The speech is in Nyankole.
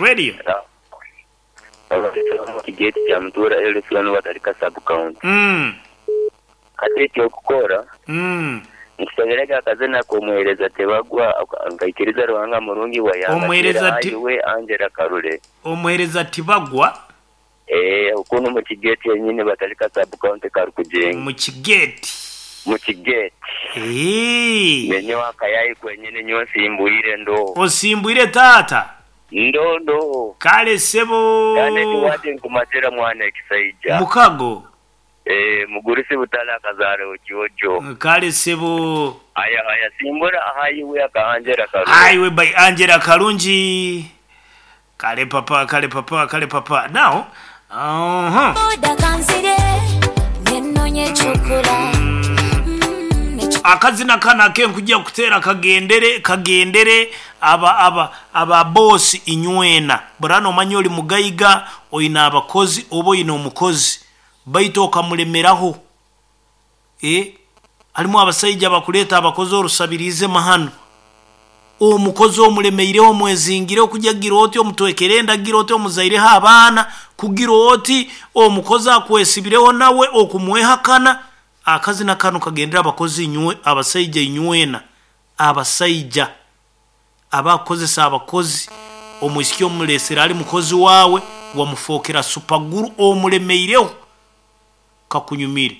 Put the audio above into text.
Radio. Omu kigate kya Mutuura LC1 Batalika Sub County. Hati eky'okukora, nkusabira ge akazina ak'omuheereza Tebagwa nkaikiriza Ruhanga murungi wayanga Omuheereza Ti- Ayiwe Angela Karule. Omuheereza Tibagwa. Eeh kunu mu kigate yenyini Batalika Sub County Karukugyenga. Mu kigate. Mu kigate. Eeh. Nenyowe akayayi kwenyini nyowe nsimbwire ndo. Osimbwire taata? Ndo ndo. Kale ssebo. Kandi eki wati nkumatira mwana ekisaija. Mukago. Eeh mugurusi Butale akazaara Okyojo. Kale ssebo. Haya haya simbura Ahayiwe aka Angela Karungi. Ahayiwe by Angela Karungi. Kale papa kale papa kale papa now uh-huh. Boda kanzire nenonye ekyokola Akazina kano akenkugya kuteera kagendere kagendere aba aba aba boss inywena. Burano omanya ori mugaiga oine abakozi oba oine omukozi baitu okamulemeraho. Eh, harimu abasaija abakureeta abakozi orusabiriize mahano. Omukozi omulemeireho omwezingireho kugira gira oti omutwekere enda gira oti omuzaireho abaana kugira oti omukozi akwesibireho nawe okumwehakana. Akazina kanu kagendere abakozi inywe abasaija inywena abasaija abakukozesa abakozi omwisiki omuresire ari mukozi waawe wamufookera supaguru omulemeireho kakunyumire.